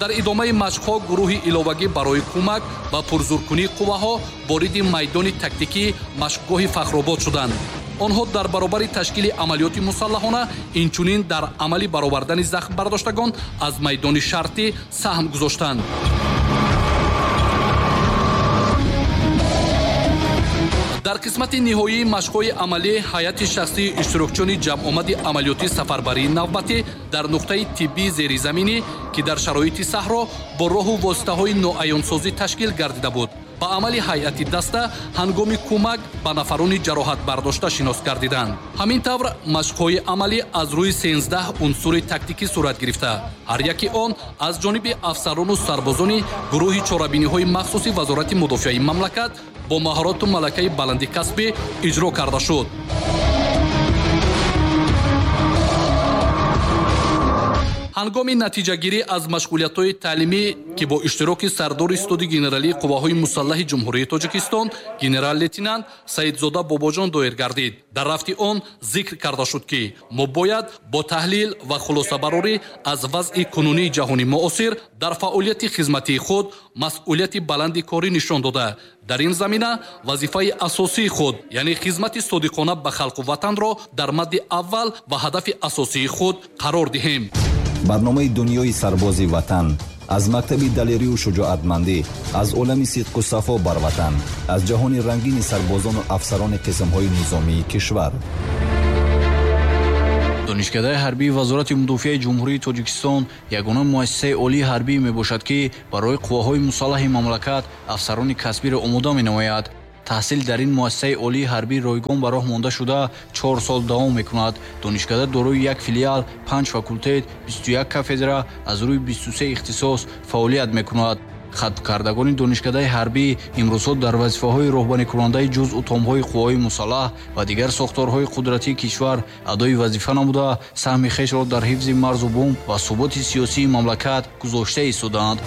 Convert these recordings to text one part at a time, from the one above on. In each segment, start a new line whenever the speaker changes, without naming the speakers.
Дар идомаи машқҳо гурӯҳи иловагӣ барои кӯмак ва пурзуркунии қувваҳо вориди майдони тактикии машқгоҳи Фахробод шуданд. Онҳо дар баробари ташкили амалиёти мусаллаҳона инчунин дар амали баровардани захмбардоштагон аз майдони шартӣ саҳм гузоштанд. Дар қисмати ниҳоии машқҳои амалӣ ҳайати шахсии иштирокчиёни ҷамъомади амалиётии сафарбарии навбатӣ дар нуқтаи тиббии зеризаминӣ, ки дар шароити саҳро бо роҳу воситаҳои ноаёнсозӣ ташкил гардида буд, ба амали ҳайати даста ҳангоми кӯмак ба нафарони ҷароҳатбардошта шинос гардиданд. Ҳамин тавр машқҳои амалӣ аз рӯи 13 унсури тактикӣ сурат гирифта, ҳар яки он аз ҷониби афсарону сарбозони гурӯҳи чорабиниҳои махсуси Вазорати мудофиаи мамлакат бо маҳорату малакаи баланди касбӣ иҷро карда шуд. Ҳангоми натиҷагирӣ аз машғулиятҳои таълимӣ, ки бо иштироки сардори Суди генералии қувваҳои мусаллаҳи Ҷумҳурии Тоҷикистон генерал-лейтенант Саидзода Бобоҷон доир гардид, дар рафти он зикр карда шуд, ки мо бояд бо таҳлил ва хулосабарорӣ аз вазъи кунунии ҷаҳони муосир дар фаъолияти хизматии худ масъулияти баланди корӣ нишон дода, дар ин замина вазифаи асосии худ, яъне хизмати содиқона ба халқу ватанро дар мадди аввал ва ҳадафи асосии худ қарор диҳем.
Барномаи дунёи сарбози ватан аз мактаби далерию шуҷоатмандӣ, аз олами сидқу сафо бар ватан, аз ҷаҳони рангини сарбозону афсарони қисмҳои низомии кишвар.
Донишкадаи ҳарбии Вазорати мудофиаи Ҷумҳурии Тоҷикистон ягона муассисаи олии ҳарбӣ мебошад, ки барои қувваҳои мусаллаҳи мамлакат афсарони касбиро омода менамояд. Таҳсил дар ин муассисаи олии ҳарбӣ ройгон ба роҳ монда шуда 4 сол давом мекунад. Донишкада дорои як филиал, 5 факултет, 21 кафедра аз рӯи 23 ихтисос фаъолият мекунад. Хатмкардагони донишкадаи ҳарбӣ имрӯзҳо дар вазифаҳои роҳбарикунандаи ҷузъу томҳои қувваҳои мусаллаҳ ва дигар сохторҳои қудратии кишвар адои вазифа намуда, саҳми хешро дар ҳифзи марзу бум ва суботи сиёсии мамлакат гузошта истодаанд.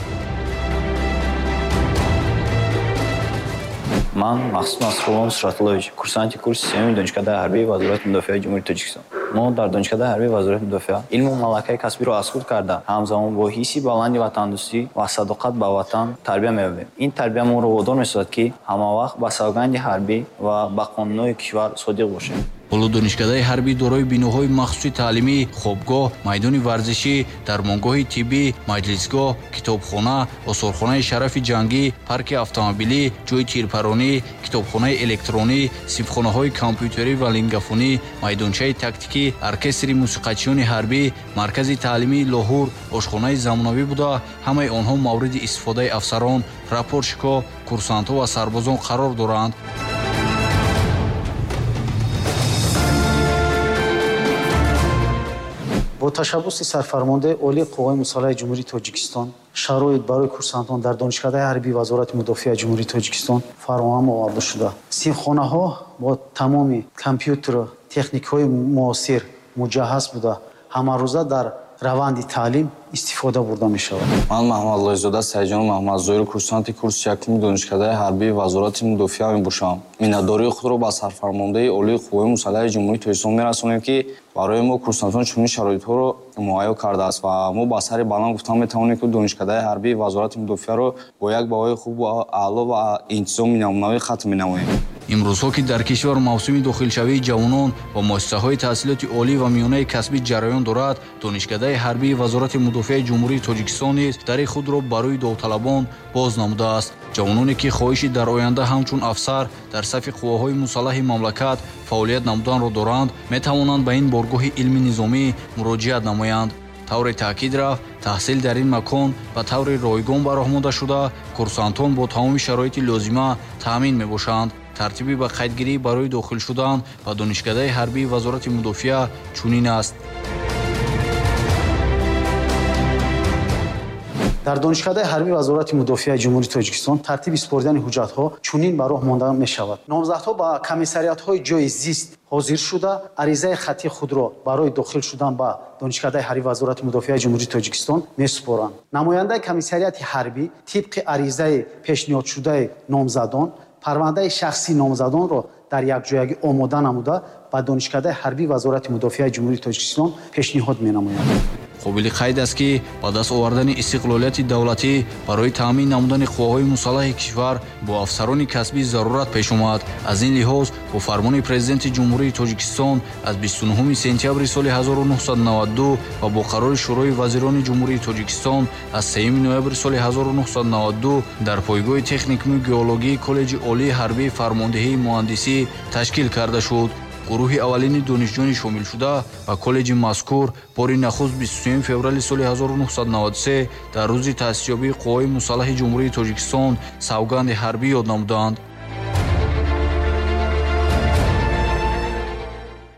Ман Махсуд Насрулло Нусратуллович, курсанти курси сеюми Донишкадаи ҳарбии Вазорати мудофиаи Ҷумҳурии Тоҷикистон. Мо дар Донишкадаи ҳарбии Вазорати мудофиа илму малакаи касбиро аз худ карда, ҳамзамон бо ҳисси баланди ватандӯстӣ ва садоқат ба ватан тарбия меёбем. Ин тарбия моро водор месозад, ки ҳамавақт ба савганди ҳарбӣ ва ба қонунҳои кишвар содиқ бошем.
Ҳоло донишкадаи ҳарбӣ дорои биноҳои махсуси таълимӣ, хобгоҳ, майдони варзишӣ, дармонгоҳи тиббӣ, маҷлисгоҳ, китобхона, осорхонаи шарафи ҷангӣ, парки автомобилӣ, ҷойи тирпаронӣ, китобхонаи электронӣ, синфхонаҳои компютерӣ ва лингафонӣ, майдончаи тактикӣ, оркестри мусиқачиёни ҳарбӣ, маркази таълимии Лоҳур, ошхонаи замонавӣ буда, ҳамаи онҳо мавриди истифодаи афсарон, прапорщикҳо, курсантҳо ва сарбозон қарор доранд.
Бо ташаббуси сарфармондаи Олии қувваҳои мусаллаҳи Ҷумҳурии Тоҷикистон шароит барои курсантон дар Донишкадаи ҳарбии Вазорати мудофиаи Ҷумҳурии Тоҷикистон фароҳам оварда шуда. Синфхонаҳо бо тамоми компютеру техникаҳои муосир муҷаҳҳаз буда, ҳамарӯза дар раванди таълим истифода бурда мешавад.
Ман Маҳмадлоизода Саидҷон Маҳмадзоир, курсанти курси якуми Донишкадаи ҳарбии Вазорати мудофиа мебошам. Миннатдории худро ба сарфармондаи Олии қувваҳои мусаллаҳи Ҷумҳурии Тоҷикистон мерасонем, ки барои мо курсантон чунин шароитҳоро муҳайё кардааст ва мо ба сари баланд гуфтан метавонем, ки Донишкадаи ҳарбии Вазорати мудофиаро бо як баҳои хуб ва аъло ва интизоми намунавӣ хатм менамоем.
Имрӯзҳо, ки дар кишвар мавсими дохилшавии ҷавонон ва муассисаҳои таҳсилоти олӣ ва миёнаи касбӣ ҷараён дорад, Донишкадаи ҳарбии Вазорати мудофиаи Ҷумҳурии Тоҷикистон низ дари худро барои довталабон боз намудааст. Ҷавононе, ки хоҳиши дар оянда ҳамчун афсар дар сафи қувваҳои мусаллаҳи мамлакат фаъолият намуданро доранд, метавонанд ба ин боргоҳи илми низомӣ муроҷиат намоянд. Тавре таъкид рафт, таҳсил дар ин макон ба таври ройгон ба роҳ монда шуда, курсантон бо тамоми шароити лозима таъмин мебошанд. Тартиби ба қайдгирӣ барои дохил шудан ба Донишкадаи ҳарбии Вазорати мудофиа чунин аст.
Дар Донишкадаи ҳарбии Вазорати мудофиаи Ҷумҳурии Тоҷикистон тартиби супоридани ҳуҷҷатҳо чунин ба роҳ монда мешавад. Номзадҳо ба комиссариатҳои ҷойи зист ҳозир шуда, аризаи хаттии худро барои дохил шудан ба Донишкадаи ҳарбии Вазорати мудофиаи Ҷумҳурии Тоҷикистон месупоранд. Намояндаи комиссариати ҳарбӣ тибқи аризаи пешниҳодшудаи номзадон парвандаи шахсии номзадонро дар якҷоягӣ омода намуда ба Донишкадаи ҳарбии Вазорати мудофиаи Ҷумҳурии Тоҷикистон пешниҳод менамояд.
Қобили қайд аст, ки ба даст овардани истиқлолияти давлатӣ барои таъмин намудани қувваҳои мусаллаҳи кишвар бо афсарони касбӣ зарурат пеш омад. Аз ин лиҳоз бо фармони Президенти Ҷумҳурии Тоҷикистон аз 29 сентябри соли 1992 ва бо қарори Шӯрои вазирони Ҷумҳурии Тоҷикистон аз 3 ноябри соли 1992 дар пойгоҳи техникуми геологии Коллеҷи олии ҳарбии фармондеҳии муҳандисӣ ташкил карда шуд. Гурӯҳи аввалини донишҷӯёни шомилшуда ба коллеҷи мазкур бори нахуст 23 феврали соли 1993 дар рӯзи таъсисёбии қувваҳои мусаллаҳи Ҷумҳурии Тоҷикистон савганди ҳарбӣ ёд намуданд.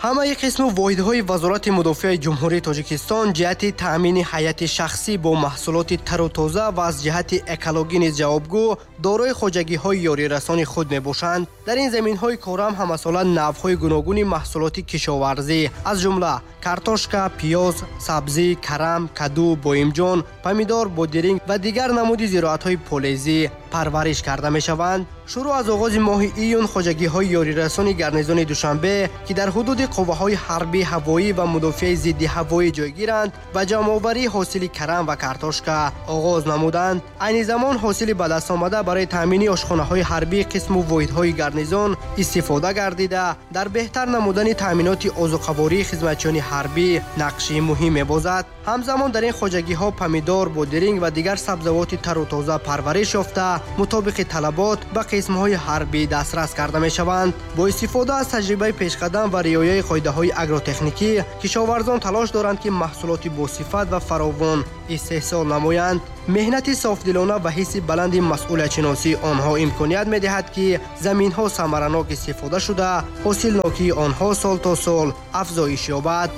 Ҳамаи қисму воҳидҳои Вазорати мудофиаи Ҷумҳурии Тоҷикистон ҷиҳати таъмини ҳайати шахсӣ бо маҳсулоти тару тоза ва аз ҷиҳати экологӣ низ ҷавобгӯ дорои хоҷагиҳои ёрирасони худ мебошанд. Дар ин заминҳои корам ҳамасола навъҳои гуногуни маҳсулоти кишоварзӣ, аз ҷумла картошка, пиёз, сабзӣ, карам, каду, боимҷон, помидор, бодиринг ва дигар намуди зироатҳои полезӣ парвариш карда мешаванд. Шурӯъ аз оғози моҳи июн хоҷагиҳои ёрирасони гарнизони Душанбе, ки дар ҳудуди қувваҳои ҳарбӣ, ҳавоӣ ва мудофиаи зидди ҳавоӣ ҷойгиранд, ба ҷамъоварии ҳосили карам ва картошка оғоз намуданд. Айни замон ҳосили ба даст омада барои таъмини ошхонаҳои ҳарбии қисму воҳидҳои гарнизон истифода гардида, дар беҳтар намудани таъминоти озуқавории хизматчиёни ҳарбӣ нақши муҳим мебозад. Ҳамзамон дар ин хоҷагиҳо помидор, бодиринг ва дигар сабзавоти тару тоза парвариш ёфта, мутобиқи талабот ба қисмҳои ҳарбӣ дастрас карда мешаванд. Бо истифода аз таҷрибаи пешқадам ва риояи қоидаҳои агротехникӣ, кишоварзон талош доранд, ки маҳсулоти босифат ва фаровон истеҳсол намоянд. Меҳнати софдилона ва ҳисси баланди масъулиятшиносии онҳо имконият медиҳад, ки заминҳо самаранок истифода шуда, ҳосилнокии онҳо сол то сол афзоиш ёбад.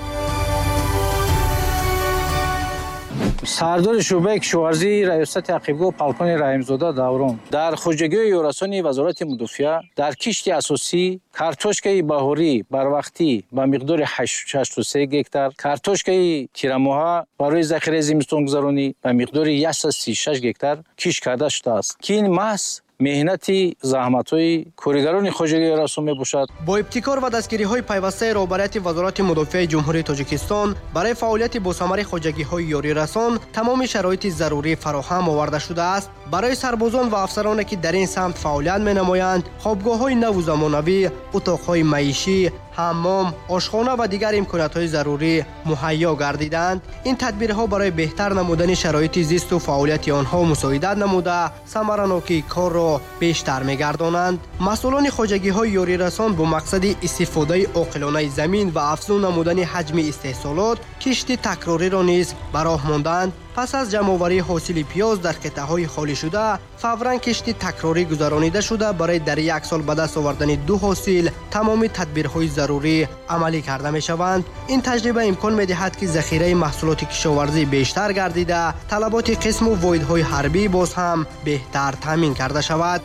Сардори шӯъбаи кишоварзии раёсати ақибгоҳ полковник Раҳимзода Даврон. Дар хоҷагиҳои ёрасони Вазорати мудофиа дар кишти асосӣ картошкаи баҳорӣ барвақтӣ ба миқдори 83 гектар, картошкаи тирамоҳа барои захираи зимистонгузаронӣ ба миқдори 136 гектар кишт карда шудааст, ки ин маҳз меҳнати заҳматҳои коригарони хоҷагии ёрасон мебошад.
Бо ибтикор ва дастгириҳои пайвастаи роҳбарияти Вазорати мудофиаи Ҷумҳурии Тоҷикистон барои фаъолияти босамари хоҷагиҳои ёрирасон тамоми шароити зарурӣ фароҳам оварда шудааст. Барои сарбозон ва афсароне, ки дар ин самт фаъолият менамоянд, хобгоҳҳои наву замонавӣ, утоқҳои маишӣ, ҳаммом, ошхона ва дигар имкониятҳои зарурӣ муҳайё гардиданд. Ин тадбирҳо барои беҳтар намудани шароити зисту фаъолияти онҳо мусоидат намуда, самаранокии корро бештар мегардонанд. Масъулони хоҷагиҳои ёрирасон бо мақсади истифодаи оқилонаи замин ва афзун намудани ҳаҷми истеҳсолот кишти такрориро низ ба роҳ монданд. Пас аз ҷамъоварии ҳосили пиёз дар қитъаҳои холишуда фавран кишти такрорӣ гузаронида шуда, барои дар як сол ба даст овардани ду ҳосил тамоми тадбирҳои зарурӣ амалӣ карда мешаванд. Ин таҷриба имкон медиҳад, ки захираи маҳсулоти кишоварзӣ бештар гардида, талаботи қисму воҳидҳои ҳарбӣ боз ҳам беҳтар таъмин карда шавад.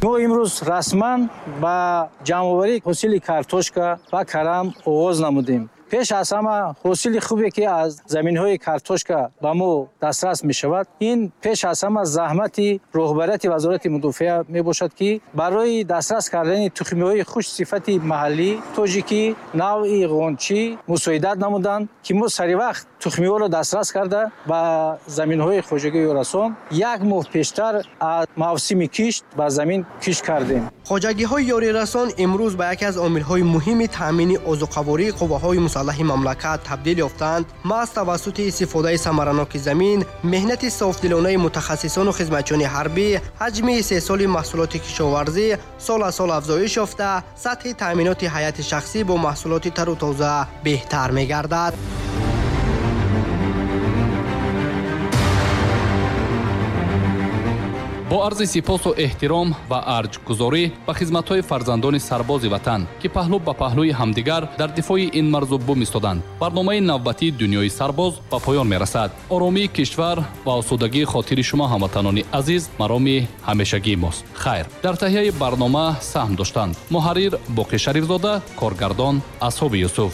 Мо имрӯз расман ба ҷамъоварии ҳосили картошка ва карам оғоз намудем. Пеш аз ҳама ҳосили хубе, ки аз заминҳои картошка ба мо дастрас мешавад, ин пеш аз ҳама заҳмати роҳбарияти Вазорати мудофиа мебошад, ки барои дастрас кардани тухмиҳои хушсифати маҳаллӣ тоҷикӣ навъи ғончӣ мусоидат намуданд, ки мо саривақт тухмиҳоро дастрас карда ба заминҳои хоҷагии ёрасон як моҳ пештар аз мавсими кишт ба замин кишт кардем.
Хоҷагиҳои ёрирасон имрӯз ба яке аз омилҳои муҳими таъмини озуқавории қувваҳои мусаллаҳи мамлакат табдил ёфтанд. Маҳз тавассути истифодаи самараноки замин, меҳнати софдилонаи мутахассисону хизматчиёни ҳарбӣ, ҳаҷми истеҳсоли маҳсулоти кишоварзӣ сол аз сол афзоиш ёфта, сатҳи таъминоти ҳайати шахсӣ бо маҳсулоти тару тоза беҳтар мегардад.
Бо арзи сипосу эҳтиром ва арҷгузорӣ ба хизматҳои фарзандони сарбози ватан, ки паҳлӯ ба паҳлӯи ҳамдигар дар дифои ин марзу бум истоданд, барномаи навбатии Дунёи сарбоз ба поён мерасад. Оромии кишвар ва осудагии хотири шумо, ҳамватанони азиз, мароми ҳамешагии мост. Хайр, дар таҳияи барнома саҳм доштанд муҳаррир Боқӣ Шарифзода, коргардон Асҳоби Юсуф.